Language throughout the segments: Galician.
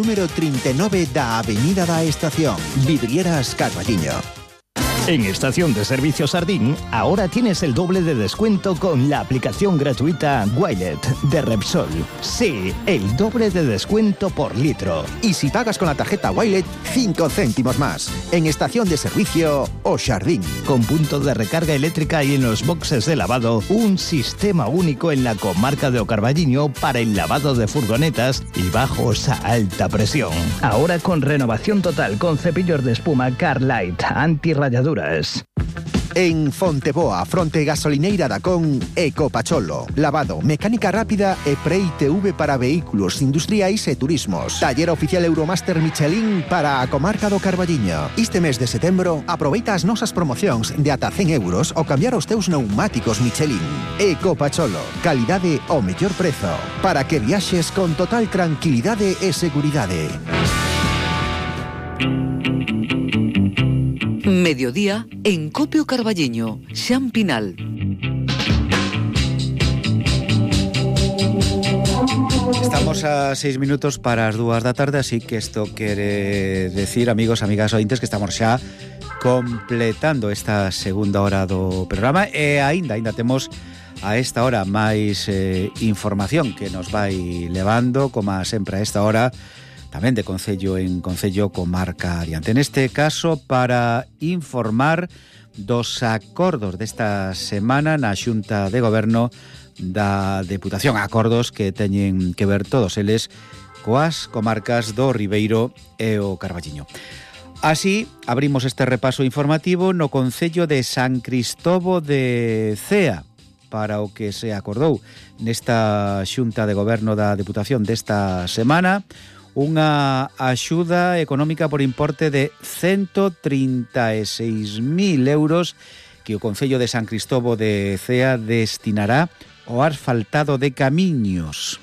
Número 39 da Avenida da Estación, Vidrieras Carballiño. En Estación de Servicio Sardín, ahora tienes el doble de descuento con la aplicación gratuita Wilet de Repsol. Sí, el doble de descuento por litro. Y si pagas con la tarjeta Wilet, 5 céntimos más. En Estación de Servicio O Sardín. Con punto de recarga eléctrica y en los boxes de lavado, un sistema único en la comarca de O Carballiño para el lavado de furgonetas y bajos a alta presión. Ahora con renovación total con cepillos de espuma Carlite, antirrayaduras. En Fonteboa, fronte gasolineira da Con, Ecopacholo. Lavado, mecánica rápida e pre-ITV para vehículos industriais e turismos. Taller oficial Euromaster Michelin para a comarca do Carballiño. Este mes de setembro, aproveita as nosas promocións de ata 100 euros ao cambiar os teus pneumáticos Michelin. Ecopacholo, calidade ao mellor prezo. Para que viaxes con total tranquilidade e seguridade. Mediodía en Copio Carballiño, Xan Pinal. Estamos a 6 minutos para as 2 da tarde, así que isto quere decir, amigos, amigas ointes, que estamos xa completando esta segunda hora do programa e aínda temos a esta hora máis información que nos vai levando, como sempre a esta hora, tamén de concello en concello, comarca adiante. Neste caso, para informar dos acordos desta semana na Xunta de Goberno da Deputación, acordos que teñen que ver todos eles coas comarcas do Ribeiro e o Carballiño. Así, abrimos este repaso informativo no concello de San Cristobo de Cea, para o que se acordou nesta Xunta de Goberno da Deputación desta semana, unha axuda económica por importe de 136.000 euros que o Concello de San Cristobo de Cea destinará ao asfaltado de camiños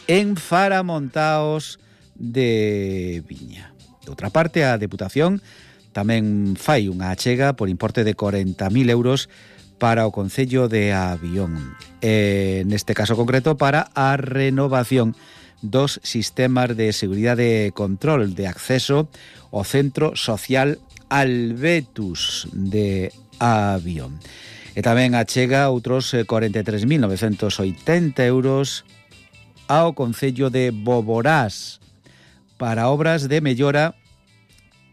en faramontaos de Viña. De outra parte, a Deputación tamén fai unha achega por importe de 40.000 euros para o Concello de Avión. Neste caso concreto, para a renovación dos sistemas de seguridade e control de acceso ao Centro Social Albetus de Avión. E tamén achega outros 43.980 euros ao Concello de Boborás para obras de mellora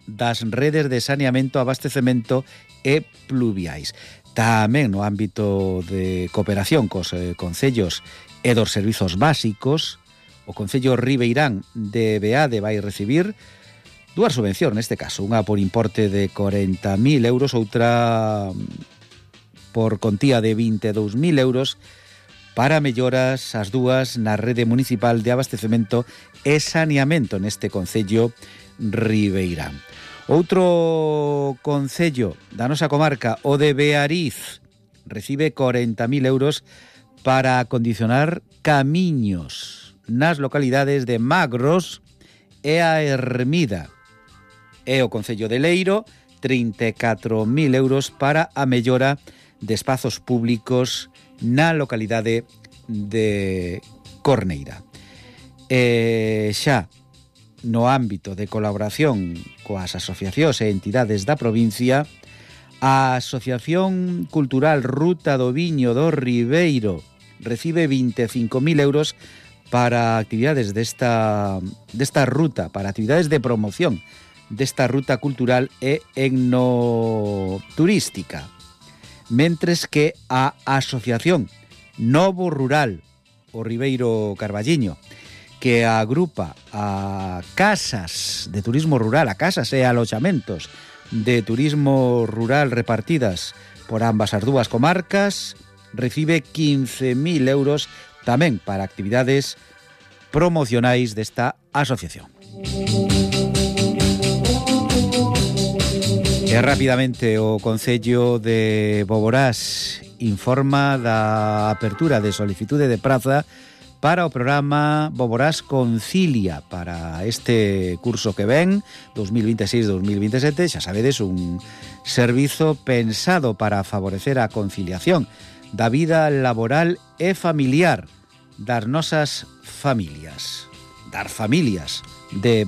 das redes de saneamento, abastecemento e pluviais. Tamén no ámbito de cooperación cos concellos e dos servizos básicos, o Concello Ribeirán de Beade vai recibir dúas subvencións, neste caso, unha por importe de 40.000 euros, outra por contía de 22.000 euros para melloras as dúas na rede municipal de abastecemento e saneamento neste Concello Ribeirán. Outro concello da nosa comarca, o de Beariz, recibe 40.000 euros para acondicionar camiños nas localidades de Magros e a Ermida. E o Concello de Leiro, 34.000 euros para a mellora de espazos públicos na localidade de Corneira. E xa no ámbito de colaboración coas asociacións e entidades da provincia, a Asociación Cultural Ruta do Viño do Ribeiro recibe 25.000 euros para actividades desta ruta, para actividades de promoción desta ruta cultural e etnoturística. Mentres que a Asociación Novo Rural, o Ribeiro Carballiño, que agrupa a casas de turismo rural, a casas e aloxamentos de turismo rural repartidas por ambas as dúas comarcas, recibe 15.000 euros tamén para actividades promocionais desta asociación. E rapidamente o Concello de Boborás informa da apertura de solicitude de praza para o programa Boborás Concilia para este curso que ven, 2026-2027, xa sabedes, un servizo pensado para favorecer a conciliación da vida laboral e familiar das nosas familias, das familias de